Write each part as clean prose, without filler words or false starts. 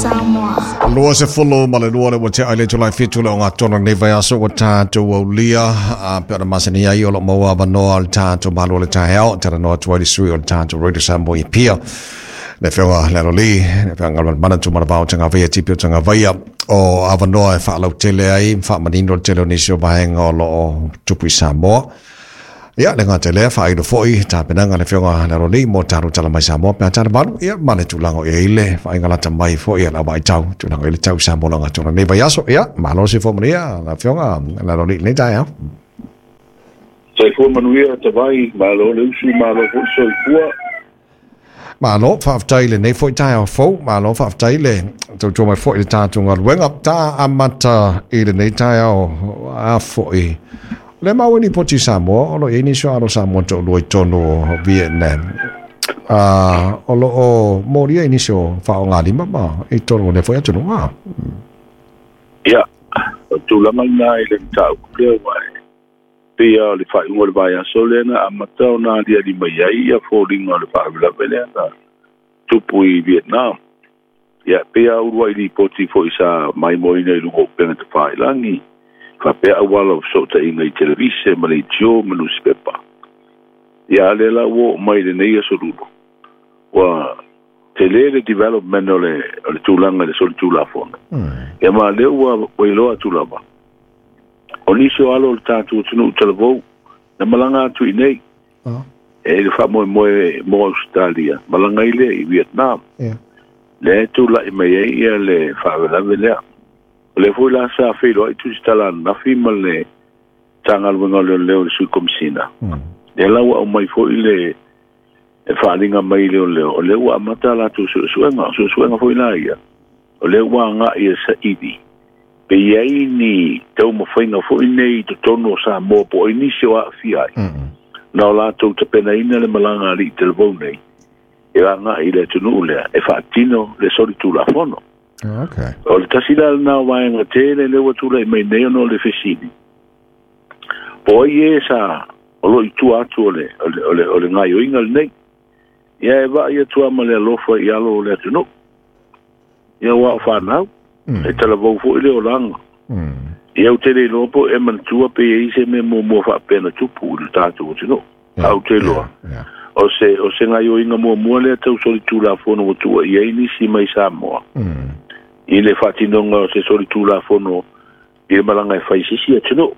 Samoa. 22 le ua tea i le itula e 7 le ogatotonu o lenei vaiaso ua tatou aulia a pe ona masani ai o lo o maua avanoa o le tatou Malo o le taeao e talanoa atu ai le sui o le tatou Radio Samoa i Apia le Afioga le Alolī le Afioga Galumalemana Tumanavao Tagavaia Tipi o Tagavaia o avanoa e faalautele ai ma faamanino le tele o nisi o vaega o lo o tupu i Samoa. Ia, le gata i lea, faailo foi tapenaga a le Afioga le Alolī mo tatou tala mai Samoa pe a tala valu, ia, ma le tulaga o i ai le vaaiga lata mai foi a le auvaitau, tulaga o i ai le tau i Samoa i le ogatotonu o lenei vaiaso. Ia, malo le soifua manuia le Afioga le Alolī i lenei taeao. Soifua manuia Tavai, malo le usu, malo foi le soifua. Malo, faafetai i lenei foi taeao fou, malo faafetai le tautua mai foi i le tatou galuega. Ta amata i lenei taeao a foi. O lea maua i lipoti i Samoa, o lo o i ai nisi o alo Samoa toalua i totonu o Vietnam. O lo o molia i nisi o faaaogalima ma i totonu o lea foi atunuu. Ia, o le tulaga lena i le mataupu lea ua e pei lava o le faaiuga o le vaiaso lea na amata ona aliali mai ai ia foliga o le faalavelave lea na tupu i Vietnam. Ia, pei lava uluai lipoti foi sa maimoaina i luga o upega tafailagi, faapea auala o fesootaiga i televise ma leitio ma nusipepa. Ia, a lea la ua oo mai i lenei aso lulu, ua tele le development o le, o le tulaga i le solitulafono. Ia ma lea ua iloa atu lava, O nisi o alo o le tatou atunuu talavou na malaga atu i inei e le faamoemoe mo Ausetalia, malaga ai lea i Vietnam. Lea e tulai mai ai ia le faalavelave lea. O lea foi la sa feiloai Tusitala ananafi ma le Matagaluega o Leoleo i le Sui Komisina. Lea la ua aumai foi le faaaliga mai i leoleo, o lea ua amata a latou suesuega. O suesuega foi la ia, o lea ua agai e saili pe i ai ni taumafaiga foi nei i totonu o Samoa po o ai nisi o aafia ai, na o latou tapenaina le malaga a alii talavou nei e agai i le atunuu lea e faatino le solitulafono. O le tasi la lena o vaega tele lea ua tulai mai nei ona o le fesili, po o ai e sa o lo o i tua atu o le, o le, o le, o le gaoioiga lenei. Ia e vaai atu lava ma le alofa i alo o le atunuu. Ia aua o fanau, e talavou foi le olaga. Ia ou te le iloa po o e manatua pe i ai se mea muamua faapea na tupu i le tatou atunuu. A ou te iloa, o se, o se gaoioiga muamua lea tau solitulafono ua tuuaia ai nisi mai Samoa i le faatinoga o se solitulafono i le malaga e fai i se isi atunuu.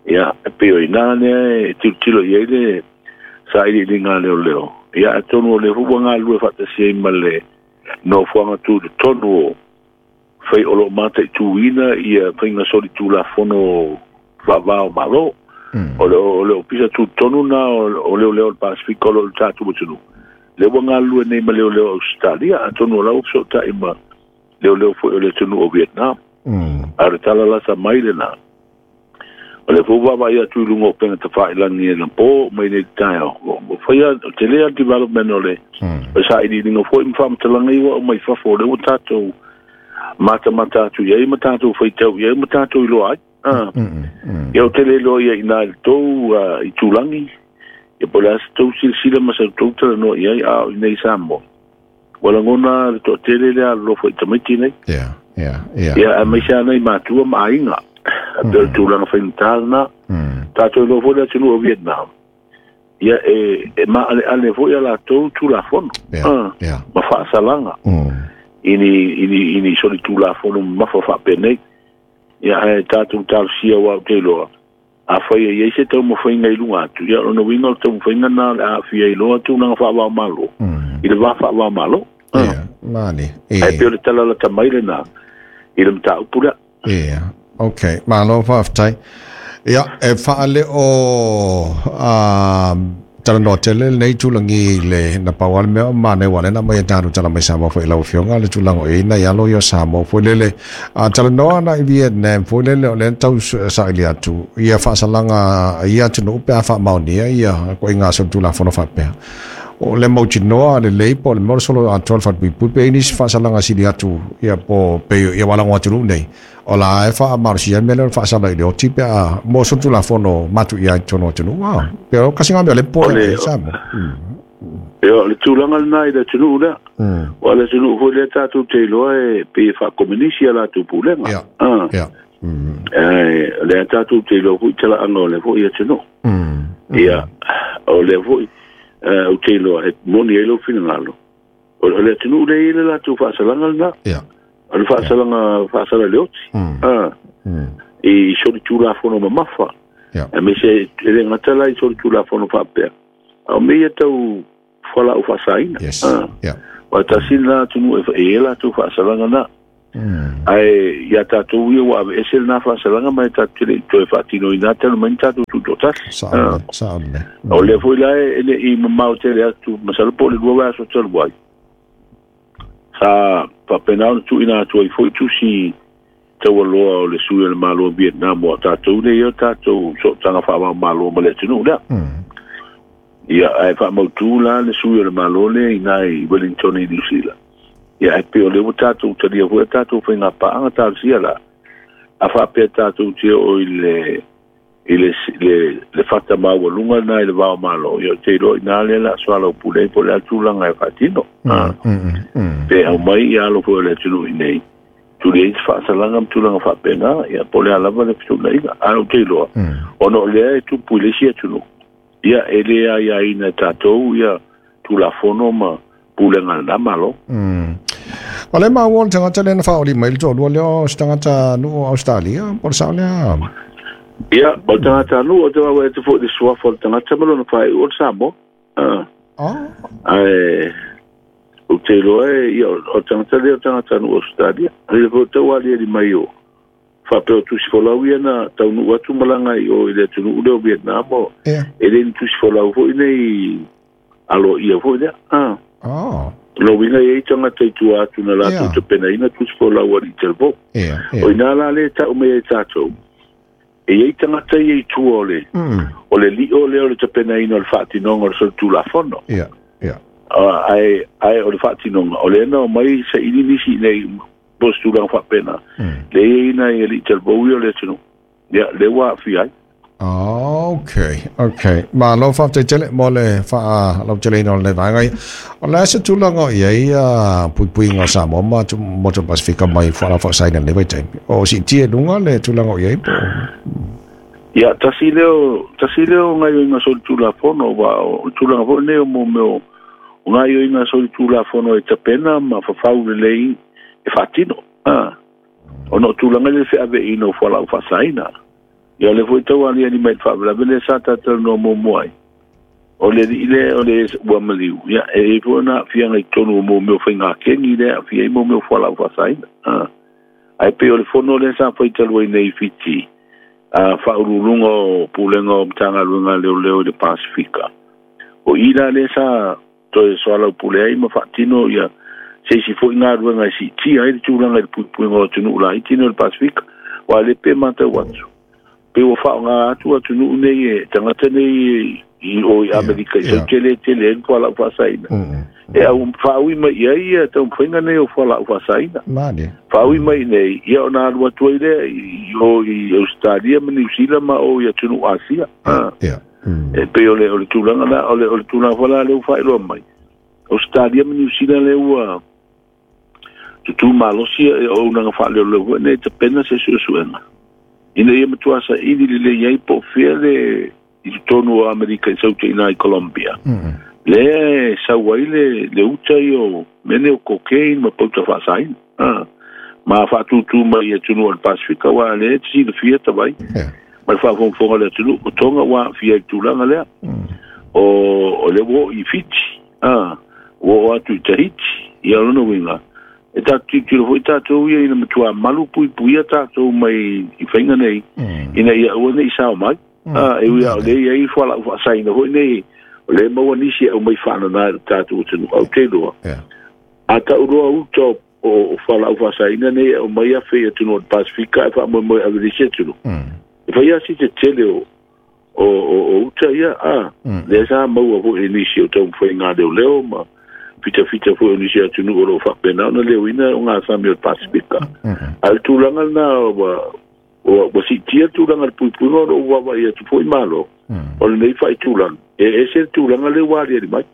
Ia, e pei o i ina lea e tilotilo i ai le sailiiliga a leoleo. Ia, atonu o lea foi ua galulue faatasi ai ma le nofoaga tutotonu o fai o lo o mataituina ia faiga solitulafono faava o Malo. O le, o le ofisa tutotonu na o leoleo o le Pasefika o lo o i le tatou atunuu. Lea ua galulue nei ma leoleo o Ausetalia, atonu o la ua fesootai ma leoleo foi o le atunuu o Vietnam. A o le tala lata mai lena, o lea foi ua vaavaai atu i luga o upega tafailagi anapo mai nei taeao, ua faia tele lava le development o le sailiiliga foi ma faamatalaga ia ua aumai fafo, o lea ua tatou matamata atu i ai ma tatou faitau i ai ma tatou iloa ai. Ia ou te le iloa ia i ina i le tou itulagi, ia po o le a se tou silasila ma sa tou talanoa i ai, a o i inei i Samoa, ua lagona le toatele lea alolofa i tamaiti nei. Yeah, yeah, yeah. Ia, aemaise lava nai matua ma aiga. Mm. Pei o le tulaga faigata lena. Tatou iloa foi le atunuu o Vietnam, ia e, e maaleale foi a latou tulafono ma faasalaga i ni, i ni, i ni solitulafono mamafa faapenei. Ia, ae tatou talosia aua ou te iloa, Afai e i ai se taumafaiga i luga atu, ia o lona uiga o le taumafaiga lena o le a aafia ai loa tulaga faava-o-Malo i le va faava-o-Malo. Ia, mani. Ae pei o le tala lata mai lena i le mataupu lea. Ia, okay. Malo faafetai. Ia, e faaleo talanoa tele lenei tulagi i le na pau lava le mea o manaia aua o lea na aumai e tatou tala mai Samoa foi i lau Afioga le tulaga o i ai nai alo ia o Samoa foi lele a talanoa ana i Vietnam foi lele o lea na tau saili atu ia faasalaga a ia atunuu pe a faamaonia ia ituaiga solitulafono faapea. O le mautinoa lelei po o le mea o le solo atoa le falepuipui pe i ai nisi faasalaga sili atu ia po pei ia walago atunuu nei O la e faamalosia ai le mea lea o le faasala i le oti pe a mo solitulafono matuia ai i totonu o atunuu. Pe o kasi ngā mea o le popoe ai Samoa. Ia, o le tulaga lena i le atunuu lea. Aua o le atunuu foi lea tatou te iloa e pei e faakominisi a latou pulega. Ia. Ae o lea tatou te iloa foi talaaga o lea foi atunuu. Ia, o lea foi ou te iloa e moni ai lou finagalo. O le atunuu lea e i ai le latou faasalaga lena. O le faasalaga faasala i le oti. I solitulafono mamafa. Aemaise e le gata la i solitulafono faapea, a o mea ia tau fualaau faasaina. Aua tasi lena atunuu e i ai latou faasalaga na. Ae ia tatou ia ua aveese lena faasalaga ma e tatou te le i toe faatinoina talu mai ni tatou tutoatasi. Sao lelei. O lea foi la e le i mamao tele atu, masalo po o le 2 vaiaso talu ai, sa faapena ona tuuina atu ai foi tusi taualoa o le sui o le Malo o Vietnam, o tatou lea ia tatou sootaga faava-o-Malo ma le atunuu lea. Ia, ae faamautu la le sui o le Malo lea i ina i Wellington i New Zealand. Ia, ae pei o lea ua tatou talia foi a tatou faiga paaga talosia la, a faapea tatou te oo i le i le le fata maualuga lena i le va o Malo, ia ou te iloa i ina lea o le a soalaupule ai po o le a le tulaga e faatino. Pe aumai ia alo foi o le atunuu i inei, tuli ai se faasalaga ma tulaga faapena, ia po o le a lava le fetuunaiga. Ae ou te iloa, ona o lea e tupu i le isi atunuu, ia e le aiaina e tatou ia Tulafono ma pulega a lena Malo. O lea maua o le tagata lea na faaoli mai le toalua lea o se tagata nuu o Ausetalia, po o le sao lea? Ia, o le tagata nuu, ou te vaavaai atu foi i le suafa o le tagata ma lona faaiu o le Samoa. Ae ou te iloa e, ia, o le tagata lea o le tagata nuu o Ausetalia. O le foi tau aliali mai o faapea o tusi folau ia na taunuu atu malaga i o i le atunuu lea o Vietnam, o e le ni tusi folau foi nei aloaia foi lea. Lona uiga e i ai tagata i tua atu na latou tapenaina tusi folau a alii talavou. O i ina la lea e tau mai ai tatou, e i ai tagata ia i tua o le, o le lio lea o le tapenaina o le faatinoga o le solitulafono. Ae, ae o le faatinoga, o lea na omai saili nisi i inei po o se tulaga faapena, lea e i ai nai alii talavou ia o le atunuu, ia, lea ua aafia ai. Ok, ok. Malo faafetai tele mo le faalauteleina o lenei vaega ia. O le a se tulaga o i ai puipuiga o Samoa ma Motu Pasifika mai fualaau faasaina i lenei vaitaimi? O siitia i luga le tulaga o i ai po o? Ia, tasi lea o, tasi lea o gaoioiga solitulafono, aua o le tulaga foi lenei o mo mea o gaoioiga solitulafono e tapena ma fafau lelei e faatino. Ona o tulaga ia o le feaveaiina o fualaau faasaina. Ia o lea foi tau aliali mai i le faalavelave lea sa talatalanoa muamua ai, o le alii lea o le ua maliu, ia e i ai foi ona aafiaga i totonu o mo mea o faiga keni lea e aafia ai mo mea o fualaau faasaina. Ae pei o le fono lea sa fai talu ai nei i Fiti, a faauluuluga o Pulega o Matagaluega a Leoleo i le Pasefika, o i la lea sa toe soalaupule ai ma faatino ia se isi foi galuega e siitia ai le tulaga i le puipuiga o atunuu laiti nei o le Pasefika. Aua o lea pei e matau atu, pei ua faaaoga atu atunuu nei e tagata nei i o i Amerika i sau tele tele ai le fualaau faasaina. E au faaui mai i ai ia taumafaiga nei o fualaau faasaina. Faaui mai nei, ia ona alu atu ai lea i o i Ausetalia ma Niu Sila ma o i atunuu Asia. E pei o le, o le tulaga la, o le, o le tulaga foi la lea ua faailoa mai, Ausetalia ma Niu Sila lea ua tutū malosi e auaunaga faaleoleo foi nei e tapena se suesuega ina ia matua saili lelei ai po o fea le i totonu o Amerika i sau i Colombia. Lea e sau ai le, le uta ia o mea nei o cocaine ma pauta faasaina. Ma faatūtū mai i atunuu o le Pasefika, aua o lea e te silafia Tavai, ma le faafogafoga a le atunuu, o Tonga ua aafia i le tulaga lea. O, o lea ua oo i Fiti, ua oo atu i Tahiti, ia o lona uiga, e tatou tilotilo foi tatou ia ina matua malu puipuia tatou mai i faiga nei, ina ia aua ne i sao mai. E ui lava o lea e i ai fualaau faasaina foi nei, o lea e maua nisi e aumai faanana i le tatou atunuu, ae ou te iloa, a tau loa uta o o fualaau faasaina nei e aumai afe i atunuu o le Pasefika ae faamoemoe e ave i le isi atunuu. E fai lava si tetele o o o uta ia, a, lea sa maua foi e nisi o taumafaiga a leoleo ma fitafita foi o nisi atunuu o lo o faapena ona leoina ogasami o le Pasefika. A o le tulaga lena ua ua siitia le tulaga i le puipuiga o lo o vaavaai atu foi Malo, o lenei faaitulaga, e ese le tulaga lea ua aliali mai.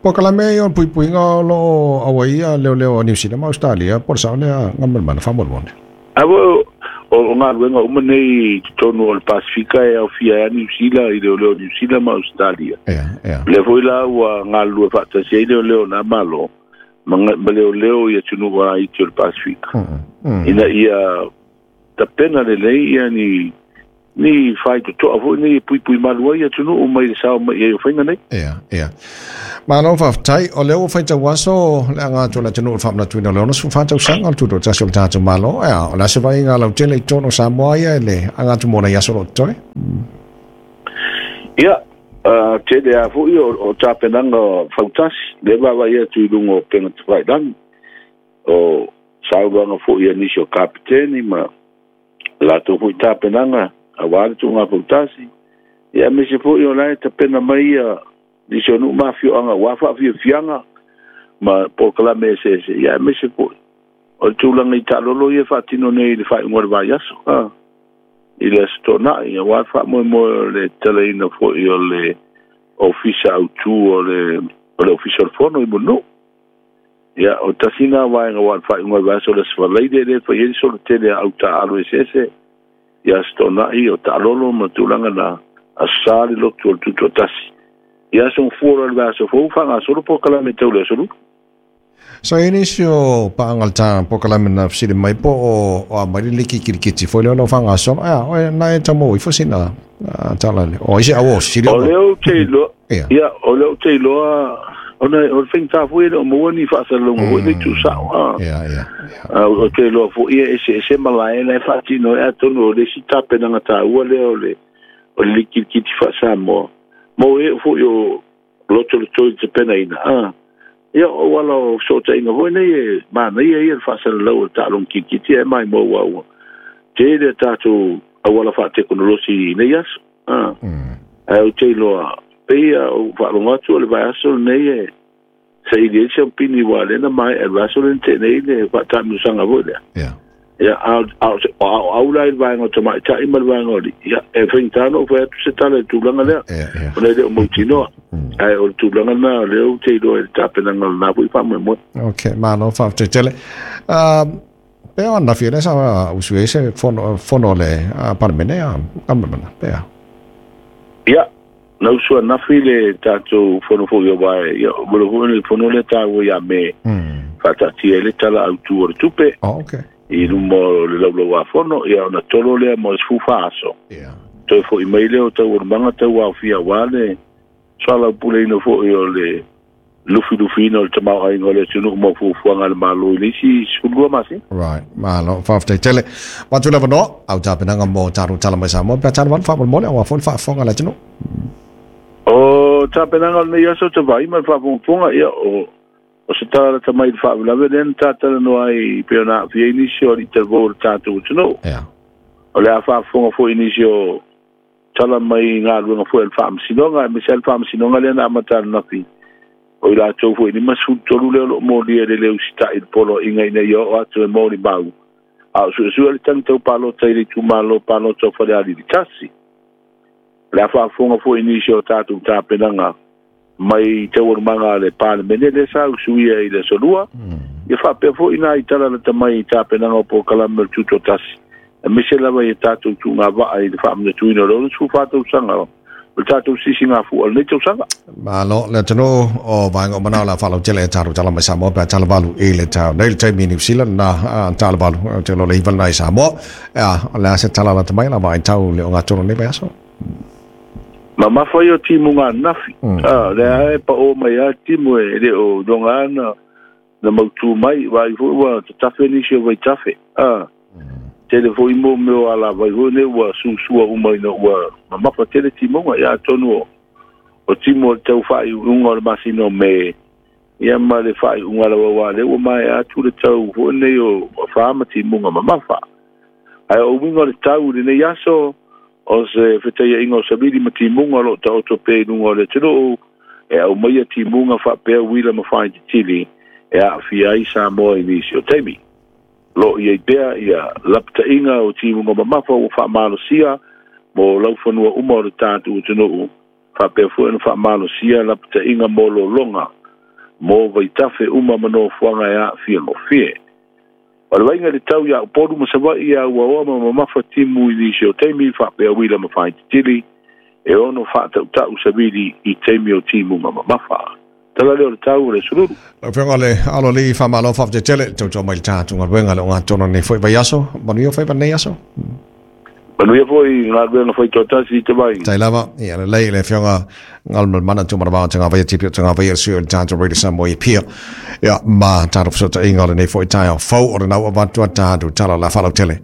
Polokalame ia o le puipuiga o lo o auaia leoleo a Niu Sila ma Ausetalia, po o le sao lea Galumalemana faamolemole? A o o galuega uma nei i totonu o le Pasefika e aofia ai Niu Sila i leoleo Niu Sila ma Ausetalia. Lea foi la ua galulue faatasi ai leoleo na Malo ma leoleo i atunuu laiti o le Pasefika, ina ia tapena lelei ia ni faitotoa foi nei e puipui malu ai atunuu mai le sao mai ai o faiga nei. Ia. Malo faafetai. O lea ua faitau aso le aga atu o le atunuu i le faamanatuina o le 64 tausaga o le tutoatasi o le tatou Malo. Ia, o le a se vaaiga lautele i totonu o Samoa ia i le aga atu mo nai aso o lo o totoe? Ia, tele lava foi o tapenaga fautasi, lea vaavaai atu i luga o upega tafailagi, o saunoaga foi a nisi o kapeteni ma latou foi tapenaga aua le tuuga fautasi. Ia, aemaise foi o la e tapena mai ia nisi o nuu ma afioaga aua faafiafiaga ma polokalame eseese. Ia, aemaise foi o le tulaga i taalolo ia faatino nei i le faaiuga o le vaiaso, i le Aso Toonai, aua le faamoemoe o le tatalaina foi o le ofisa autu o le ofisa o le fono i Mulinuu. Ia, o tasi na vaega aua le faaiuga o le vaiaso o le Aso Faraile lea e fai ai le solo tele a au taaalo eseese i Aso Toonai o taalolo ma tulaga na Aso Sa le lotu o le Tutoatasi. Ia, aso gafua loa le vaiaso fou faagasolo polokalame tau le Aso Lulu. So i nisi o paaga o le ta polokalame na fesili mai po o aumai le liki kirikiti foi lea o lo o faagasolo. Ia, o na e tau maua ifo sina tala le. O ai se au o sili O lea ou te iloa, ia, o lea ou te iloa, ona o le faigata foi e le o maua ni faasalalauga foi nei tuusao. Ia. O te iloa foi e eseese malae la e faatino ai, atonu o le isi tapenaga taua lea o le likirikiti faa-Samoa. Mo e foi o loto le toi tapenaina. Ia, o ala o fesootaiga foi nei e manaia ia le faasalalau o le taaloga kirikiti e mai mo ua tele a tatou auala faatekonolosi i nei aso. Ae ou te iloa, pei ou faalogo atu o le vaiaso lenei e saili ai se aupini ua lea na maea le vaiaso lea na tea nei le faataamilosaga foi lea. Ia, a o au la i le vaega o tamaitai ma le vaega o alii, ia, e faigata ona ou fai atu se tala i le tulaga lea, ona e le o mautinoa. Ae o le tulaga lena o lea ou te iloa i le tapenaga o lena foi faamoemoe. Ok, malo faafetai tele. Pea o ananafi lea sa usu ai se fono o le Palemene a Galumalemana, pea. Ia, na usu ananafi le tatou fono foi o vae, ia, o le foi le fono lea taua ia me faataatia ai le tala autu o le tupe. Oh, okay. I luma o le laulau a fono, ia ona tolo lea mo le 14 aso. Toe foi mai lea o taualumaga tau aofia aua le soalaupuleina foi o le lufilufiina o le tamaoaiga o le atunuu mo fuafuaga a le Malo i le isi 12 masina. Right, malo, faafetai tele. Matu lava noa, au tapenaga mo tatou tala mai Samoa, pe a tala valu faamolemole, aua foi le faafofoga a le atunuu. O tapenaga o lenei aso te vaai ma le faafogafoga, ia, o se tala lata mai i le faalavelave lea na tatalanoa ai pei ona aafia ai nisi o alii talavou o le tatou atunuu. O le a faafofoga foi nisi o tala mai galuega foi a le faamasinoga, aemaise lava le faamasinoga lea na amata ananafi o i latou foi 53 lea o lo o molia i le le usitai i le poloaiga ina ia oo atu e molimau a o suesue le tagi tau palota i le itumalo palota o Falealili 1. O le a faafofoga foi nisi o tatou tapenaga mai taualumaga a le Palemene lea sa usuia i le Aso Lua. Ia faapea foi nai tala lata mai i tapenaga o polokalame o le Tutoatasi, aemaise lava i tatou tuugavaa i le faamanatuina o le 64 tausaga o le tatou sisigafua o lenei tausaga. Malo le atunuu o vaega o manao la faalautele e tatou tala mai Samoa pe a tala valu i le tao nei le taimi i New Zealand na tala valu te lo le hiva lena i Samoa. Ea, o le a se tala lata mai la vaitau le ogatotonu o lenei vaiaso. Mamafa ia o timuga ananafi. Lea e pao mai a timu e le o iloga na mautu mai, vai foi ua tatafe nisi o vaitafe. Tele foi mo mea o ala vai foi nei ua susua uma ina ua mamafa tele timuga. Ia atonu o timu o le tau faaiuga o le masina o Me, ia ma le faaiuga lava ua lea ua maea atu le tau foi nei o fa ma timuga mamafa. Ae o uiga o le tau i lenei aso, o se fetaiaiga o savili ma timuga o lo o taoto pea i luga o le atunuu, e aumaia timuga faapea uila ma faititili e aafia ai Samoa i nisi o taimi. Lo o i ai pea ia lapataiga o timuga mamafa ua faamalosia mo laufanua uma o le tatou atunuu. Faapea foi ona faamalosia lapataiga mo lologa mo vaitafe uma ma nofoaga e aafia gofie. O le vaiga i le tau iā Upolu ma Savaii ia uaoa ma mamafa timu i nisi o taimi faapea uila ma faaititili e ono faatautau savili i taimi o timuga mamafa. Tala lea o le tau o le sululu. Lau Afioga le Alo Alii, faamalo faafetai tele tautua mai le tatou galuega le ogatotonu o lenei foi vaiaso. Manuia faiva lenei aso. Manuia foi galuega faitoatasi i te vai. Tai lava, ia lelei le Afioga Galumalemana Tumanavao Tagavaia Tipi o Tagavaia le sui o le tatou Radio Samoa i Apia. Ia ma tatou fesootaiga o lenei foi taeao fou o lenau avatu a tatou tala la faalautele.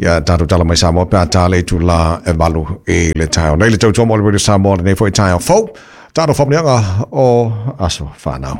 Ia tatou tala mai Samoa pe a ta le itula e 8 i le taeao. Nei le tautua mo le Radio Samoa lenei foi taeao fou. Tatou faamanuiaga o aso fanau.